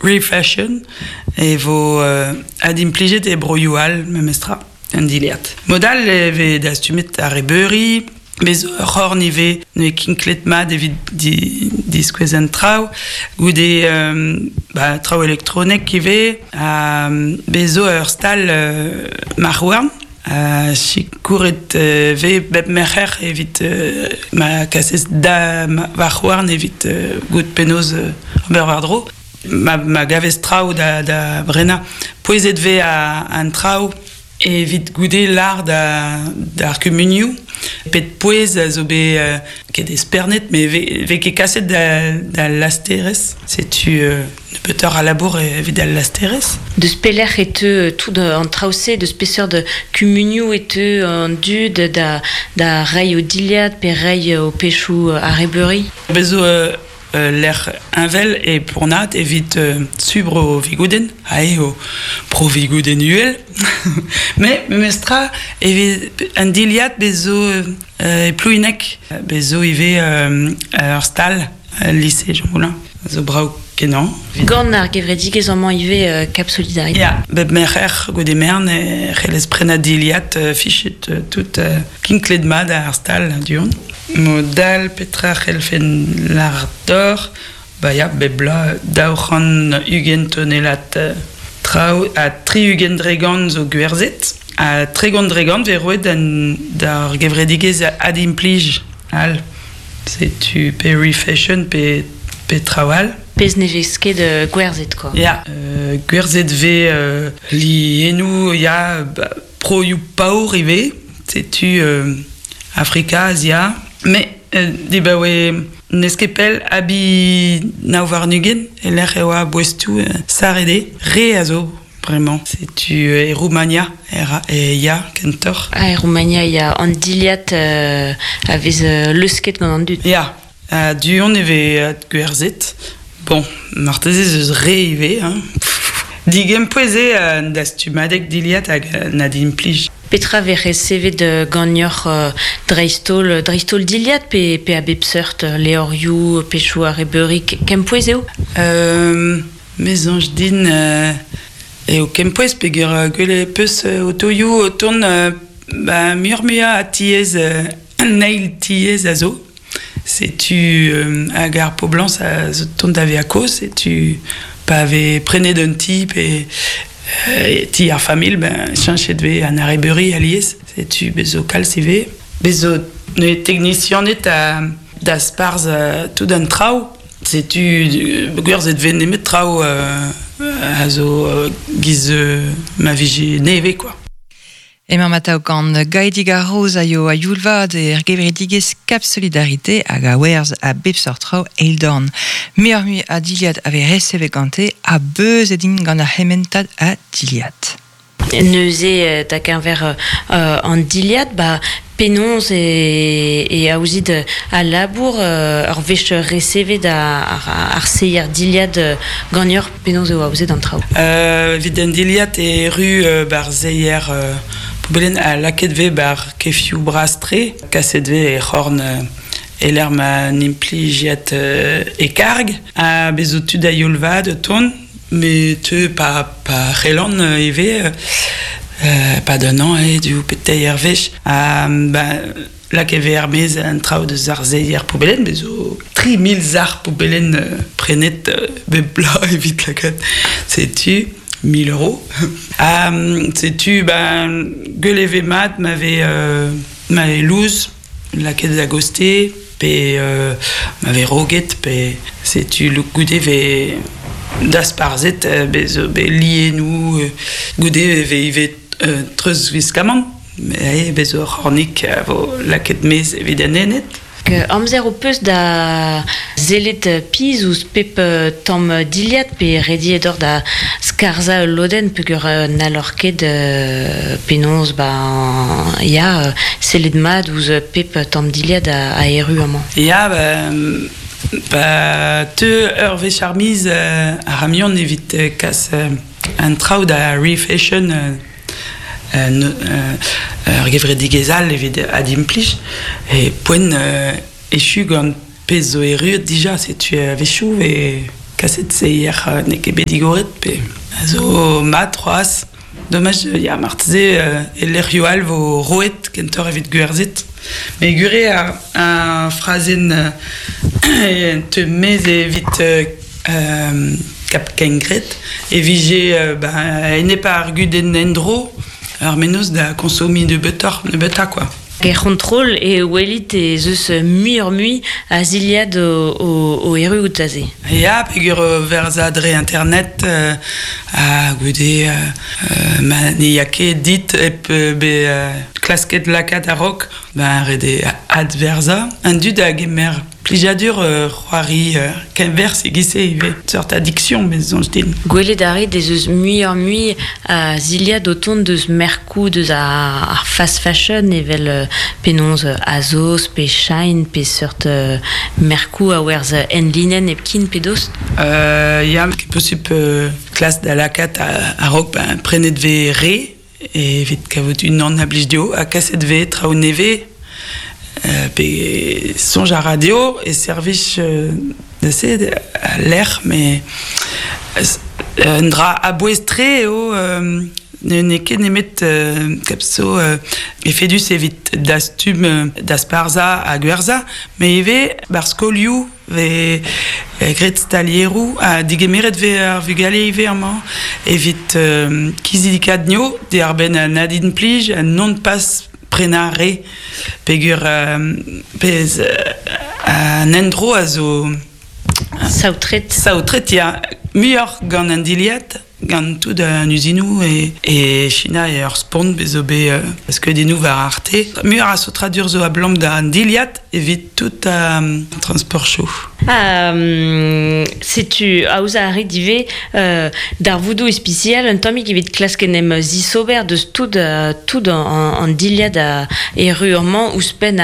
Refashion e vo adimplijet e broioù all memestra an dilhad. Mod all e vez dastumet ar rebeuri, bez zo ur c'horn ivez n'eo kinklet mat evit diskouez an traoù. Goude ba, traoù elektronek ivez. Ha bez zo ur stal marc'h-houarn. Sikouret vez bep merc'her evit ma kasez da varc'h-houarn evit goût penaos ober war-dro. Ma gavez traoù da brenañ. Pouezet vez an traoù evit goude lâr d'ar kumunioù pet pouez a zo bet ket espernet met vez ket kaset d'al lasterez. Setu nebeutoc'h a labour evit al lasterez. Deus pelec'h e teu tout an traoù-se? Deus peseurt kumunioù e teu an dud da reiñ o dilhad pe reiñ o pechoù arrebeuri? Bez zo lec'h heñvel e Ponnad evit subr o vigoudenn, ha eo pro vigoudenn uhel. Met memestra evit an dilhad bez zo e Plouhineg, bez zo ivez ur stal el lise Jean Moulin, zo brav kenañ. Gant ar gevredigezh amañ ivez Cap Solidarité. Ya, bep merc'her goude mern e c'hellez prenañ dilhad fichet tout kinklet mat ar stal du-hont. Mod all, petra c'hellfen lâret deoc'h? Ba ya, bep bloaz 220 tonellad traoù ha 60% zo gwerzhet. Ha 30% vez roet d'ar gevredigezh adimplij all. Setu pe refashion pe, pe traoù all. Pezh ne vez ket gwerzhet quoi. Ya, gwerzhet vez lienoù, ya, broioù paour ivez. Setu Afrika, Azia. Mais dibaoe n'eus ket pell abi 29 e-lec'h e oa boestoù sarret eo. Re a zo bremañ. Setu e Roumania e ya kentoc'h. Ah, e Roumania ya an dilhad a vez leusket gant an dud. Ya, du-hont e vez gwerzhet. Bon, marteze ez eus re ivez. Hein. Digempouez eo an dastumadeg dilhad hag an adimplij. Petra vez resevet ganeoc'h dreist-holl dreist-holl dilhad pe, pe a bep seurt levrioù, pechoù arrebeuri kempouez eo? Me soñj din eo kempouez peogwir gwelet 'peus otoioù o tont ba muioc'h-muiañ a tiez an eil tiez a zo. Setu hag ar poblañs a zo tont da vezañ kozh, setu pa vez prenet un ti pe ti ar familh, ben cheñchet vez an arrebeuri alies. Setu bez zo kalz ivez. Bez zo neuze teknisianed da sparzh tout an traoù. Setu gwerzhet vez nemet traoù a zo giz ma vije nevez quoi. Emañ atav gant Gaedig ar Roz a yo a-youl vat er gevredigezh Cap Solidarité hag a werzh a bep seurt traoù eildorn. Muioc'h-mui a dilhad a vez resevet gante ha beuzet int gant ar c'hementad a dilhad. Neuze, da geñver an dilhad, ba penaos e aozit al labour ur wech resevet ar seier dilhad ganeoc'h? Penaos eo aozet an traoù? Evit an dilhad e erru bar seier poubellenn ha lakaet vez bar kefioù bras-tre. Kaset vez e c'horn e-lec'h ma n'implijiad e karg. Ha bez zo tud a-youl vat o tont, met teu pa, pa c'hellan ivez, pa d'un an eo div pe teir wech. Ha ba Lakaet vez er-maez an traoù deus ar seier poubellenn, bez zo 3000 sac'h poubellenn prenet bep bloaz evit lakaat. Setu 1000 euros. Ha setu ben gwell e vez mat ma vez ma vez louz lakaet da goste pe ma vez roget pe setu goude vez dasparzhet bez zo bet lienoù goude e vez ivez treuzwiskamant. Bez ur c'hornig a vo lakaet maez evit an ened. Amzer ho peus da sellet pizh ouzh pep tamm dilhad pe rediet oc'h da skarzhañ ul lodenn peogwir n'halloc'h ket penaos ba ya sellet mat ouzh pep tamm dilhad a erru amañ. Ya, ba teu ur wech ar miz ar c'hamion evit kas an traoù da refashion ur gevredigezh all evit adimplij e poent echu gant pezh zo erruet dija setu a-wechoù e Kaset seier n'eo ket bet digoret pe a zo mat c'hoazh. Domaj, ya, marteze e lec'hioù all vo roet kentoc'h evit gwerzhet. Met gure ar, ar frazenn te mez evit kap kengred e vije ba, enep ar gudenn endro ar mennozh da konsomiñ nebeutoc'h, nebeutañ quoi. Er c'hontrol e welit ez eus muioc'h-mui a zilhad o erruout aze. Ya, peogwir verzañ dre internet ha goude ma ne ya ket dit hep bezañ klasket lakaat a-raok, ben ret eo adverzañ. An dud a gemer plijadur c'hoari kenwerzh e-giz-se ivez, seurt addiction me soñj din. Gwelet a rit ez eus muioc'h-mui a zilhad o tont deus merkoù deus ar fast fashion evel penaos Azos pe Shein pe seurt merkoù a werzh enlinenn hepken pe dost? Ya, ket posupl klask da lakaat a-raok ben prenet 'vez re evit kavout unan a blij dezho ha kaset 'vez traoù nevez pe soñj a ra dezho e servij da se al lec'h met un dra a-bouez-tre eo n'eo ket nemet kap zo efedus evit dastum dasparzhañ ha gwerzhañ met ivez 'barzh skolioù 'Vez graet stalieroù ha digemeret 'vez ar vugale ivez amañ evit kizidikaat anezho diàr-benn an adimplij ha non pas prenañ re peogwir pezh an endro a zo Saotret. Saotret ya, muioc'h gant an dilhad. Gant tout an uzinoù e China eo ur spont bez zo bet skeudennoù war Arte. Muioc'h a saotradur zo abalamour d'an dilhad evit tout an transportioù. Ha setu aozañ a rit ivez darvoudoù ispisial un tammig evit klask en em zisober deus tout tout an dilhad a erru amañ ouzhpenn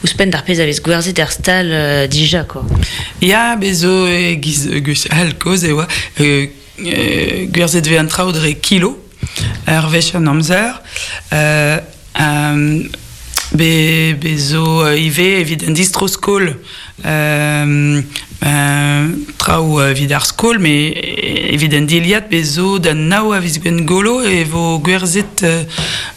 ouzhpenn d'ar pezh a vez gwerzhet er stal dija quoi. Ya, bez zo e-giz gwechall kozh e oa gwerzhet 'vez an traoù dre kilo ur wech an amzer. Bez zo ivez evit an distro-skol traoù evit ar skol, met evit an dilhad bez zo da nav a viz Gwengolo e vo gwerzhet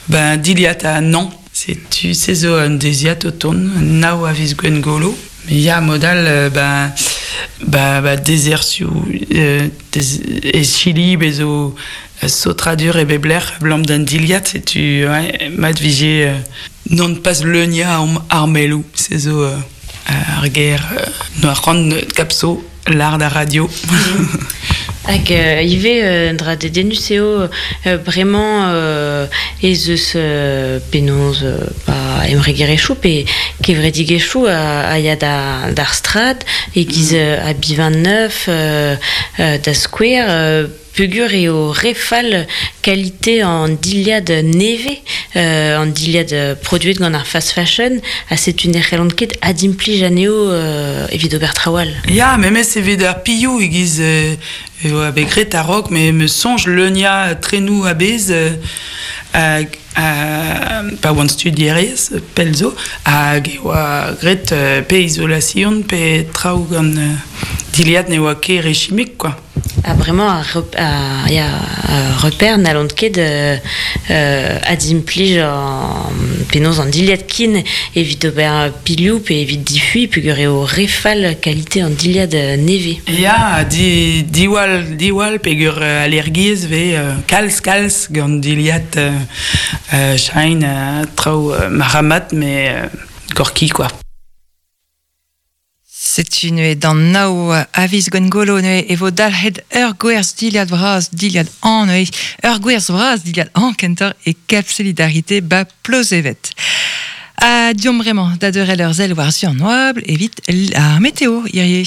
ben dilhad ha nann. Setu se zo un deiziad o tont, nav a viz Gwengolo. Ya, mod all, ben, ba dezerzhioù e Chili bez zo saotradur e bep lec'h abalamour d'an dilhad, setu ouais, mat 'vije non pas leuniañ armelloù, se zo ar ger noa c'hoant kapso lâr d'ar radio. Hag ivez un dra dedennus eo bremañ ez eus penaos ba embregerezhioù pe kevredigezhioù a ya d'ar strad e-giz Abi 29 da skouer Peogwir eo re fall kalite an dilhad nevez, an dilhad produet gant ar fast fashion, ha setu ne c'hellont ket adimplij anezho evit ober traoù all. Ya, memes evit ar pilhoù e-giz e oa bet graet a-raok, me 'meus soñj leuniañ trenoù a-bezh pa oan studierez pell zo, hag e oa graet pe izolasion pe traoù gant dilhad ne oa ket re chimik quoi. Ha bremañ ar, ya, ar reper n'hallont ket adimplij penaos an dilhad kin evit ober pilhoù pe evit difuiñ peogwir eo re fall kalite an dilhad nevez. Ya, di, diwall, diwall peogwir allergiezh 'vez kalz kalz gant dilhad shine traoù marc'hamat met gorki quoi. Setu neuze d'an nav a viz Gwengolo neuze e vo dalc'het ur gwerzh dilhad vras dilhad hañv neuze ur gwerzh vras dilhad hañv kentoc'h e Cap Solidarité 'ba Plozeved. Ha deomp bremañ da deurel ur sell war-zu an oabl evit ar meteo hirie.